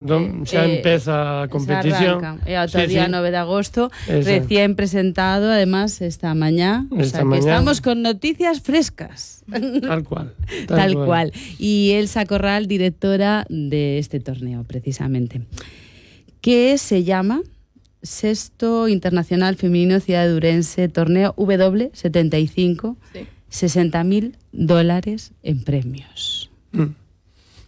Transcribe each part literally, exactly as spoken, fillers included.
Don, xa eh, empeza a competición. E ata o día sí. nove de agosto, Eso. Recién presentado, además, esta mañá. Esta o sea, mañá. Que estamos con noticias frescas. Tal cual. Tal, tal cual. cual. Y Elsa Corral, directora de este torneo, precisamente. Que se llama Sexto Internacional Femenino Ciudad de Ourense, torneo W setenta y cinco, sí. sesenta mil dólares en premios. Mm.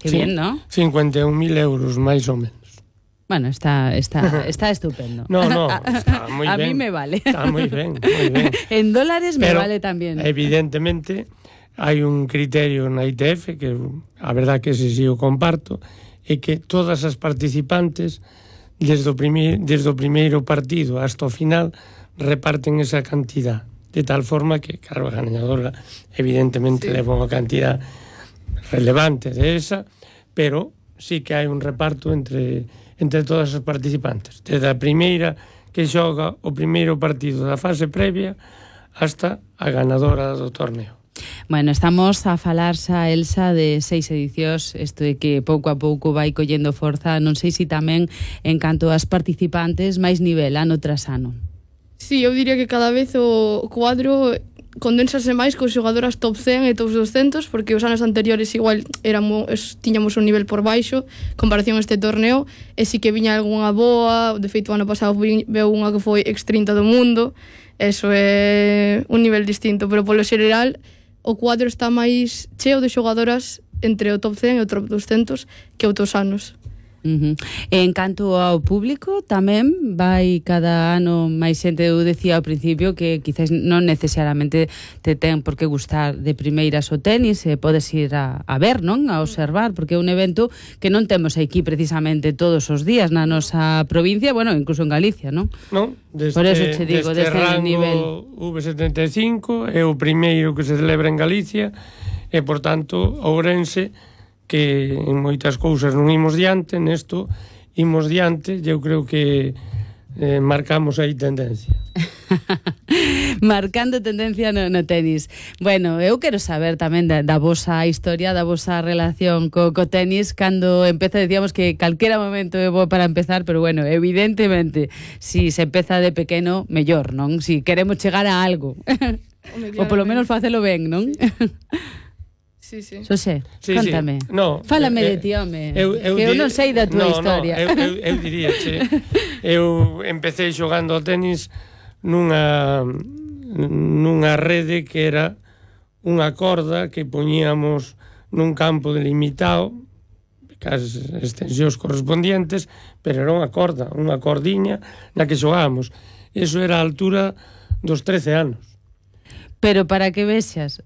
Qué sí, bien, ¿no? cincuenta y un mil euros, máis ou menos. Bueno, está, está, está estupendo. No, no, está moi a ben. A mí me vale. Está moi ben, moi ben. En dólares me Pero, vale tamén. Evidentemente, hai un criterio na I T F, que a verdad que ese sí o comparto, é que todas as participantes, desde o, primeiro, desde o primeiro partido hasta o final, reparten esa cantidad. De tal forma que, claro, a gañadora evidentemente sí. leva unha cantidad relevante de esa, pero sí que hai un reparto entre, entre todas as participantes, desde a primeira que xoga o primeiro partido da fase previa hasta a ganadora do torneo. Bueno, estamos a falar xa, Elsa, de seis edicións, isto de que pouco a pouco vai collendo forza, non sei se tamén en canto ás participantes máis nivel ano tras ano. Sí, eu diría que cada vez o cuadro condensase máis con xogadoras top cen e top doscientos, porque os anos anteriores igual éramos, tiñamos un nivel por baixo comparación a este torneo, e si que viña algunha boa. De feito, o ano pasado veu unha que foi ex trinta do mundo, eso é un nivel distinto, pero polo xeral o cuadro está máis cheo de xogadoras entre o top cen e o top doscientos que outros anos. Uh-huh. En canto ao público, tamén vai cada ano máis xente. Eu decía ao principio que quizás non necesariamente te ten por que gustar de primeiras o tenis, e podes ir a, a ver, non? A observar, porque é un evento que non temos aquí precisamente todos os días na nosa provincia, bueno, incluso en Galicia, non? Non, deste, por eso te digo, deste deste rango nivel V setenta e cinco é o primeiro que se celebra en Galicia, e, por tanto, Ourense, que en moitas cousas non imos diante, nesto imos diante, eu creo que eh, marcamos aí tendencia. Marcando tendencia no, no tenis. Bueno, eu quero saber tamén da, da vosa historia, da vosa relación co, co tenis. Cando empeza, decíamos que calquera momento é bo para empezar, pero bueno, evidentemente, si se empeza de pequeno, mellor, non? Si queremos chegar a algo. Ou polo menos facelo ben, non? Sí, sí. Xosé, sí, contame. Sí. No, Fálame eh, de ti, home. Eu, eu que eu dir... non sei da túa no, historia. No, eu, eu, eu diría, che, eu empecé xogando ao tenis nunha nunha rede que era unha corda que poñíamos nun campo delimitado, cas extensións correspondientes, pero era unha corda, unha cordiña na que xogábamos. Eso era a altura dos trece anos. Pero para que vexas,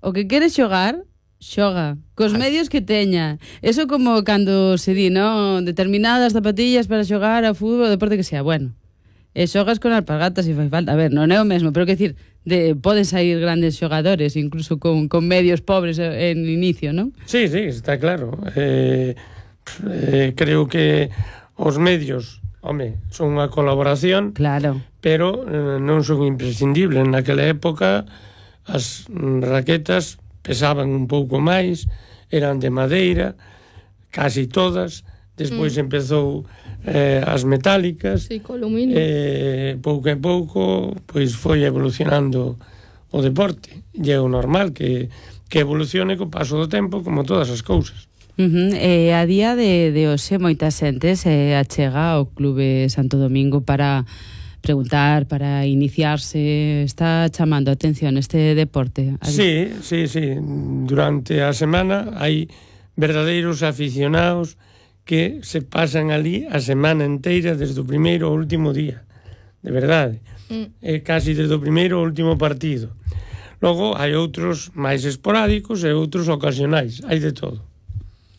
o que queres xogar, xoga, cos medios que teña. Eso como cando se di, non? Determinadas zapatillas para xogar a fútbol, o deporte que sea, bueno. E xogas con alpargatas se fai falta. A ver, non é o mesmo, pero que decir, de, poden sair grandes xogadores, incluso con, con medios pobres en inicio, non? Sí, sí, está claro. Eh, eh, creo que os medios, home, son unha colaboración, claro, pero eh, non son imprescindibles. Naquela época as raquetas pesaban un pouco máis, eran de madeira, casi todas. Despois mm. empezou eh, as metálicas, sí, co aluminio. Eh, pouco a pouco pois foi evolucionando o deporte, e é o normal que, que evolucione co paso do tempo, como todas as cousas. Uh-huh. Eh, a día de, de hoxe moita xente se achega ao Clube Santo Domingo para preguntar, para iniciarse. Está chamando a atención este deporte? Sí, sí, sí. Durante a semana hai verdadeiros aficionados que se pasan ali a semana inteira, desde o primeiro ao último día, de verdade, mm. eh, casi desde o primeiro ao último partido. Logo hai outros máis esporádicos e outros ocasionais, hai de todo.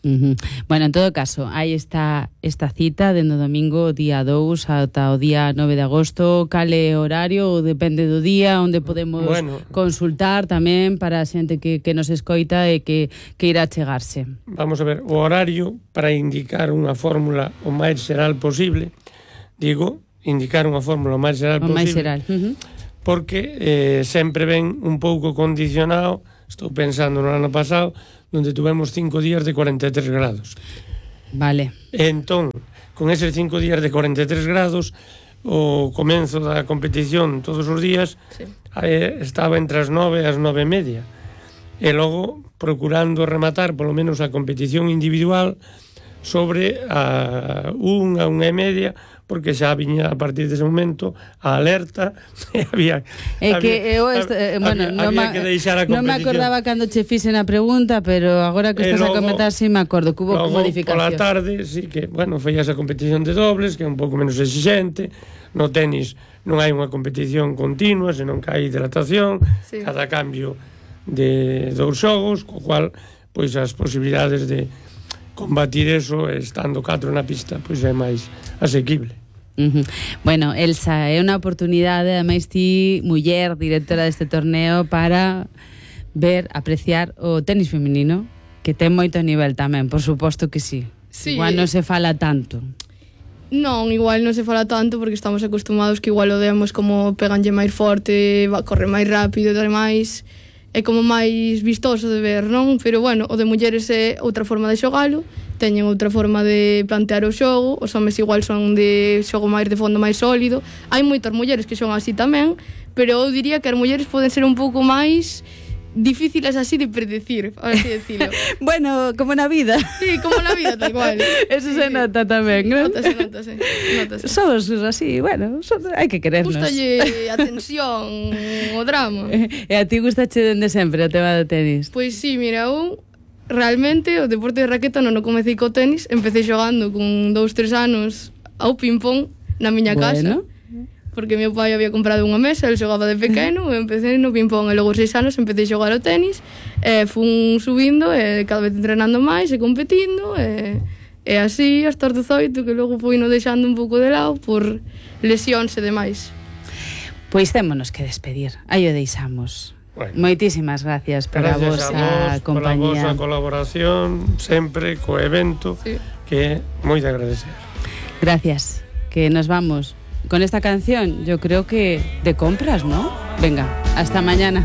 Uh-huh. Bueno, en todo caso, aí está esta cita dende o domingo día dous ata o día nove de agosto. Cale horario, ou depende do día, onde podemos bueno, consultar tamén para a xente que, que nos escoita e que, que irá chegarse. Vamos a ver, o horario para indicar unha fórmula o máis xeral posible, digo, indicar unha fórmula o máis xeral o posible, máis xeral. Uh-huh. Porque eh, sempre ven un pouco condicionado. Estou pensando no ano pasado, onde tuvemos cinco días de cuarenta e tres grados. Vale. E entón, con eses cinco días de cuarenta e tres grados, o comenzo da competición todos os días, Sí. eh, estaba entre as nove e as nove e media. E logo, procurando rematar polo menos a competición individual sobre a unha, unha e media, porque xa viña a partir dese momento a alerta e había É que había, eu est, eh, bueno, había, non, había ma, que deixar a non me competición. acordaba cando che fixen a pregunta, pero agora que E estás logo- a comentar si me acordo que hubo Logo, modificacións. pola tarde, sí que, bueno, foi esa competición de dobles, que é un pouco menos exigente. No tenis non hai unha competición continua, senón que hai hidratación, Sí. cada cambio de dous xogos, co cual, pois, as posibilidades de combatir eso, estando catro na pista, pois é máis asequible. Uh -huh. Bueno, Elsa, é unha oportunidade, ademais ti, muller, directora deste torneo, para ver, apreciar o tenis feminino, que ten moito nivel tamén, por suposto que sí. Sí. Igual non se fala tanto. Non, igual non se fala tanto porque estamos acostumados que igual o demos como peganlle máis forte, va, corre máis rápido e demais. É como máis vistoso de ver, non? Pero bueno, o de mulleres é outra forma de xogalo, teñen outra forma de plantear o xogo, os homes igual son de xogo máis de fondo máis sólido. Hai moitas mulleres que son así tamén, pero eu diría que as mulleres poden ser un pouco máis difíciles así de predecir, por así decirlo. Bueno, como na vida. Sí, como na vida, tal cual. Eso Sí, se sí. nota tamén, non? Notase, notase, notase. Somos así, bueno, son, hai que querernos. Gústalle a tensión, o drama. E a ti gustache dende sempre o tema do tenis? Pois sí, mira, eu realmente o deporte de raqueta non o comecei co tenis, empecé xogando con dous, tres anos ao ping-pong na miña casa. Bueno. Porque meu pai había comprado unha mesa, el xogaba de pequeno, e empecé no ping-pong, e logo seis anos empecé a xogar ao tenis, e fun subindo, e cada vez entrenando máis, e competindo, e, e así hasta os dezoito, que logo fui no deixando un pouco de lado por lesións e demais. Pois témonos que despedir, aí o deixamos. Bueno. Moitísimas gracias por a Gracias vosa a vos, pola compañía. vosa colaboración, sempre co evento, Sí. que é moi de agradecer. Gracias, que nos vamos con esta canción, yo creo que de compras, ¿no? Venga, hasta mañana.